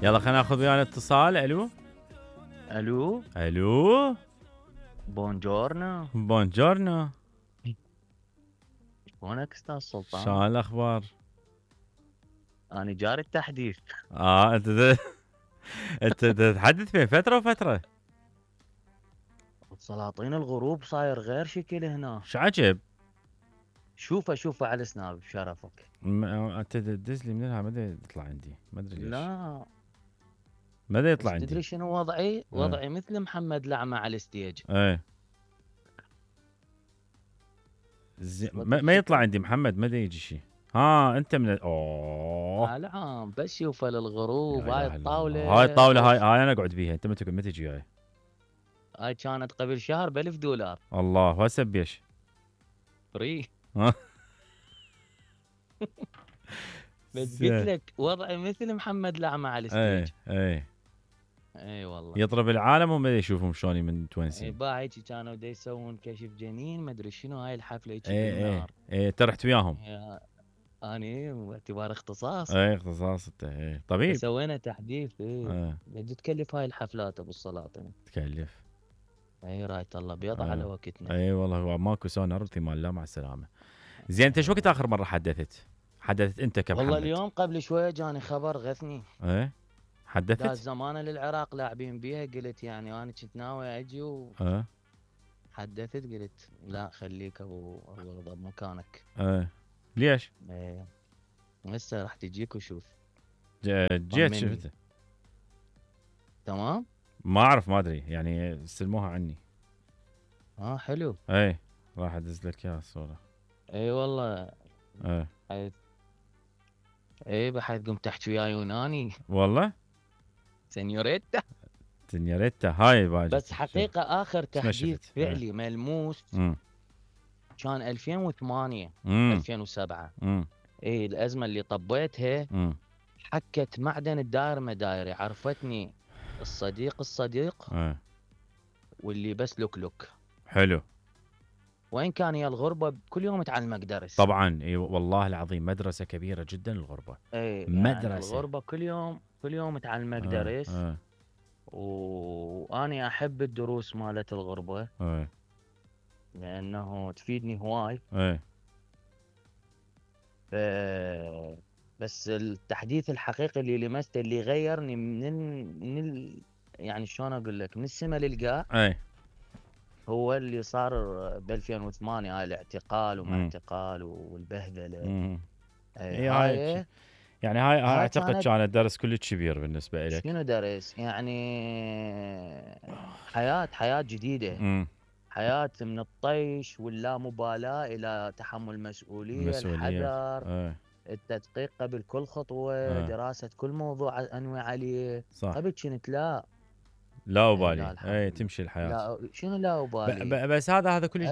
يلا خلينا ناخذ ويانا اتصال. الو الو الو بونجورنو. بونجورنو. شلونك استاذ سلطان؟ شلون الاخبار؟ انا جاري التحديث. انت تتحدث بين فتره وفتره. سلاطين الغروب صاير غير شكل هنا. شو عجب؟ شوفه على سناب بشرفك. انت تدز لي منها ما يطلع عندي، ما ادري ليش. لا ما يطلع بس عندي. تدري شنو وضعي؟ وضعي مثل محمد لعمة على الستيج. ايه ما يطلع عندي محمد، ما يجي شيء. انت من اوه العام بس شوفه للغروب. هاي لا إله إلا الطاوله الله. هاي الطاوله هاي انا اقعد بيها، انت ما تجي هاي. هاي كانت قبل شهر ب$1000. الله. وهسه بيش؟ فري. ها بس قلت لك وضعي مثل محمد لعمة على الستيج. اي والله. يضرب العالم وما يشوفهم شلون من توينسين. باعي كانوا دا يسوون كشف جنين ما ادري شنو. هاي الحفله هيك بالنهار. انت رحت وياهم؟ اني باعتبار اختصاص. اختصاص انت. طبيب. سوينا تحديث. قد تكلف هاي الحفلات ابو السلاطين؟ تكلف. رايت الله بيض على وقتنا. والله هو ماكو سونار ثمان. لا مع السلامه. زين انت شو وقت اخر مره حدثت انت كمحمد؟ والله اليوم قبل شويه جاني خبر غثني. حدثت؟ داز زمانه للعراق لاعبين بيها. قلت يعني انا كنت ناوي اجي حدثت قلت لا خليك ابو الغضب مكانك. ليش؟ هسه راح تجيك وشوف. جيت شفته. تمام. ما اعرف ما ادري يعني استلموها عني. حلو. راح ادز لك اياها الصوره. والله. بحيث قمت تحكي وياي يوناني. والله سنيوريتا هاي باجي. بس حقيقه اخر تحديث فعلي ملموس كان 2008 2007. الازمه اللي طبيتها حكت معدن الدائر مدايري. عرفتني الصديق واللي بس لوك. حلو. وين كان يا الغربه كل يوم تعلمك درس. طبعا والله العظيم مدرسه كبيره جدا الغربه. مدرسه يعني الغربه كل يوم تعلمك درس. واني احب الدروس مالت الغربه. لانه تفيدني هواي. بس التحديث الحقيقي اللي لمسته اللي غيرني يعني شلون اقول لك من السما للقاع. هو اللي صار ب 2008. هاي الاعتقال وما اعتقال والبهدله. هاي يعني هاي اعتقد كانت درس كلش كبير بالنسبه لك. شنو درس؟ يعني حياه جديده. حياه من الطيش واللامبالاه الى تحمل مسؤوليه. الحذر. التدقيق قبل كل خطوه. دراسه كل موضوع انوي عليه. صح. قبل كنت لا أبالي. تمشي الحياه. لا شنو لا أبالي. بس هذا كل